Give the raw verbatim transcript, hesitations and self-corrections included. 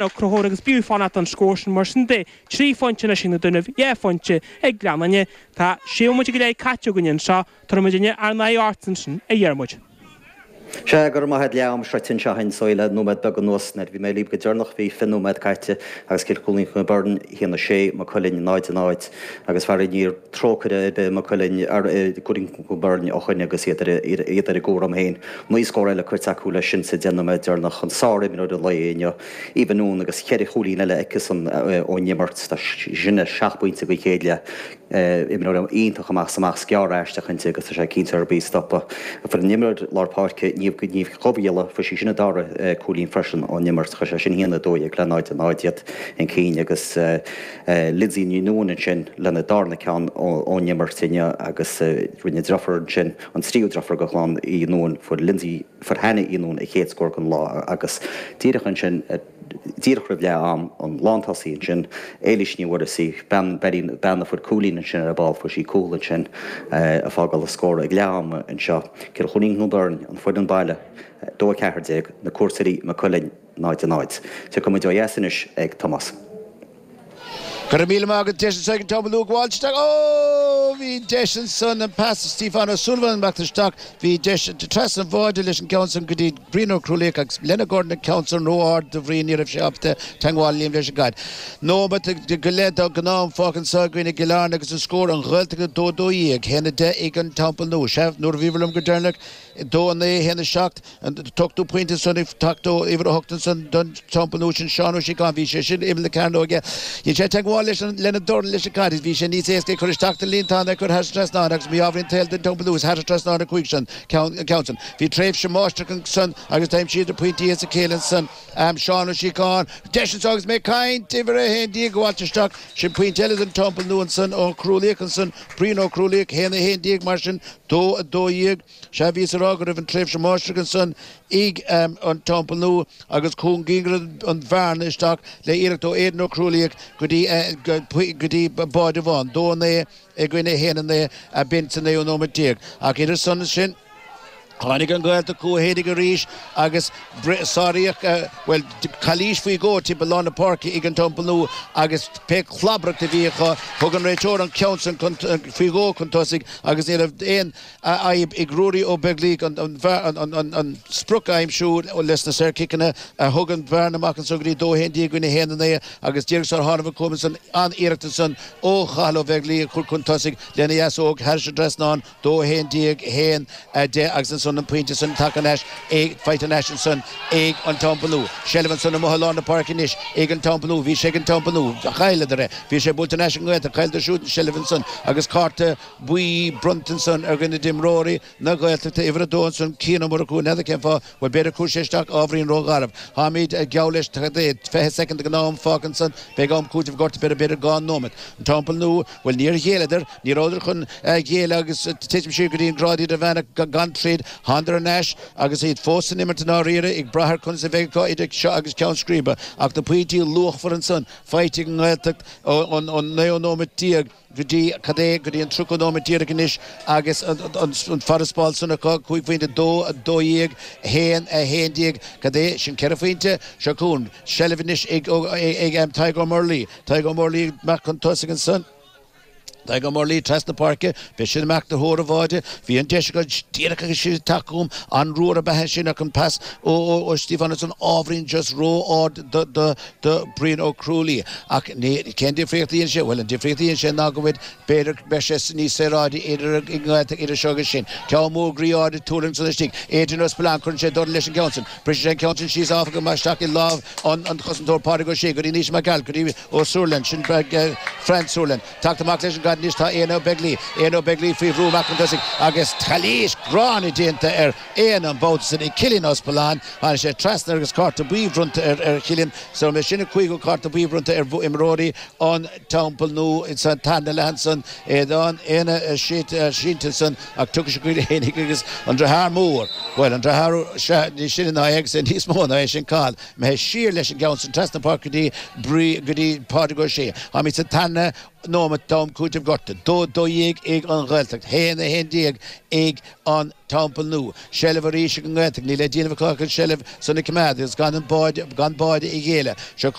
Ó Conchúir agus b'fhiú fanacht don scór sin mar sin de trí phointe anois ag na Dúnaibh dhá phointe ag Gleann Fhinne. Tá sé nóiméad go leith caite againn anseo tabharfaidh muidinne ár n-aghaidh ort ansin a Dhiarmuid. Sé go maith leam sroichte anseo againn le nóiméad beag anuas nuair bhí mé libh go deireanach bhí fiche nóiméad caite agus Cill Chóilín Chnoc Bheirn a haon a sé Maigh Cuilinn náid a náid agus faraor níor trócaire ar bith Maigh Cuilinn ar Cóilín Chnoc Bheirn ó shin agus iad ar iad ar a gcúram féin. Naoi scór eile curtha acu leis sin sa deich nóiméad deireanach an sár-imreoir an lae inniu Aoibhe Noone agus ceithre chúilín eile aici san ón imirt sin seacht bpointe go chéad le imreoir iontach amach amach sceár aisteach inti agus tá sé cinnte ar bí stopa. Fuair an imreoir lár páirce Niamh Niamh Chomhghialla fuair sí sin a dara cúilín freisin ón imirt chu sé sin haon a dó dhéag le náid a náid iad chun cinn agus Lindsay Ní Nuáin ansin lena darna ceann ón imirt inniu agus rinne deirfiúr ansin an tríú deirfiúr go chlann Uí Nuáin fuair Lindsay fuair Hannah Uí Nuáin a chéad scór den lá agus díreach ansin díreach roimh leath am an lántosaí ansin Éilís Ní Mhuirthí bean bean a fuair cúilín ansin ar ball fuair sí cúl ansin a fágáil a scór ag leath am anseo Cill Chóilín Chnoc Bheirn an foireann baile dó a ceathair déag na cuairteoirí Maigh Cuilinn náid a náid. Tiocfaidh muid ó dheas anois ag Tomás. Go míle maith deis ag an Teampall Nua gabháil isteach ó bhí deis ansan an pas Stephen O'Sullivan amach isteach bhí deis trasna an bháide leis an gceann san go dtí Brian Ó Crualaoich agus lena Gordon an ceann san ró-ard do Bhrian ní raibh sé ábalta teagmháil líom leis an gcaid. Nóiméad go leith den ghnáth-am fágtha anseo againn i gCill Airne agus an scór an Ghaeltacht dó dó dhéag haon a deich ag an Teampall Nua. Sea nuair a bhí liom go deireanach dó a naoi haon a seacht an t-ochtú pointe san ag teacht ó uimhir a hocht ansan don Teampall Nua sin Seán Ó Síocháin bhí sé sin imeall na cearnóige. Dhein sé teagmháil leis an lena dorn leis an gcaid bhí sé níos éasca cur isteach den líontán ar chur thar trasnán agus mí-ádh an tsaoil don Teampall Nua thar trasnán a cúig san ceann ceann san. Bhí tréimhse máistreach san agus d'aimsíodar pointí as a chéile san um, Seán Ó Síocháin. Deis anseo agus mé caint uimhir a haon déag gabháilt isteach sin pointe eile den Teampall Nua ansan ó Crualaoich ansan Brian Ó Crualaoich haon a haon déag mar sin dó a dó dhéag sé bhí rá go raibh an tréimhse máistreach ansan ag um, an Teampall Nua agus chúngaíonn an bhearna isteach le iarracht ó Éadan Ó Crualaoich go dtí uh, go dtí báide amháin dó naoi i gcoinne haon a naoi a b'in sa naoú nóiméad déag ach idir san sin Tháinig an Ghaeltacht chucu arís agus sáraíodh well calaois faoi dhó timpeall lár na páirce ag an Teampall Nua agus pé clabracht a bhí acu thug an réiteoir an ceann san faoi dhó chun tosaigh agus ní raibh aon fhadhb ag Ruairí Ó Beaglaoich an sprioc a aimsiú leis na saorchiceanna a thug an bhearna amach anso go dtí dó haon déag i gcoinne haon a naoi agus díreach sar tháinig chugam san an iarracht san ó Chathal Ó Beaglaoich a chur chun tosaigh lena dheasóg thar an trasnán dó haon déag haon deich agus ansan an pointe san tagtha anois ag faighte anois ansan ag an Teampall Nua. Seilbh ansan amuigh i lár na páirce anois ag an Teampall Nua, bhí sé ag an Teampall Nua chailleadar é, bhí sé buailte anois an nGaeltacht chailleadar siúd an seilbh ansan agus cárta buí bronnta ansan ar dhuine d'imreoirí na Gaeltachta uimhir a dó ansan Cian Ó Murchú n'fheadar cén fáth bhuel b'fhéidir chuir sé isteach ábhairín rógharbh. Táimid geall leis fiche soicind den am fágtha ansan beidh am cúitimh gorta b'fhéidir b'fhéidir dhá nóiméad. An Teampall Nua bhuel níor ghéilleadar ní rabhadar chun géilleadh agus titim siar go dtí an grád idirmheánach gan troid thánadar anois agus iad fós san imirt dáiríre ag brath ar conas a bheidh acu idir seo agus ceann scríbe ach na pointí luachmhar ansan faighte ag an nGaeltacht ón naoú nóiméad déag go dtí cad é go dtí an tríocha nóiméad díreach anois agus an farasbarr san acu cúig phointe dó a dó dhéag haon a haon déag cad é sin ceithre phointe seo chugainn seilbh anois ag ag Tadhg Ó Murlaí Tadhg Ó Murlaí amach chun tosaigh ansan. Tadhg Ó Murlaí trasna páirce, bhí sin amach do thóir an bháide, bhí an deis acu díreach agus siad ag teacht chugam an ruathar ab ea sin ach an pas ó ó Stephen ansan ábhairín just ró-ard do do do Brian Ó Crualaoich. Ach ní cén difríocht a dhéanann sé? Bhuel an difríocht a dhéanann sé ná go bhfuil b'fhéidir beidh sé níos saoráidí idir an nGaeltacht idir seo agus sin. Ceann mór groí ard ag tuarlaincint san istigh. Adrian Ó Spillan cuireann sé dul leis an gceann sin. Briseann sé an ceann sin síos áfach go mbeidh isteach i lámh an an chosantóir Pádraig Ó Sé go dtí Naoise Mac Gearailt go dtí Ó Súrlain sin Fran Súrlain. Teacht amach leis an gcaid anois tá Éanna Ó Beaglaoich. Éanna Ó Beaglaoich faoi bhrú amach chun tosaigh agus calaois ghránna déanta ar Éanna an babhta sin ag Cillian Ó Spillan. Tháinig sé trasna agus cárta buí bronnta ar ar Chillian. So mé sin an cúigiú cárta buí bronnta ar imreoirí an Teampall Nua san tarna leath ansan Éadán Éanna sínte ansan ach tugadh sé chuig fhéinig agus an deartháir mór. Bhuel an deartháir sea ní sin ná é agus é níos mó ná é sin Cathal. Imithe siar leis an gceann san trasna páirce go dtí Brí go dtí Pádraig Ó Sé. Táimid sa tarna nóiméad d'am cúitimh gortaithe. Dó dó dhéag ag an Ghaeltacht, haon a haon déag ag an Teampall Nua. Seilbh arís ag an nGaeltacht, níl le déanamh acu ach an seilbh san a choimeád agus gan an báide gan báide a ghéilleadh. Seo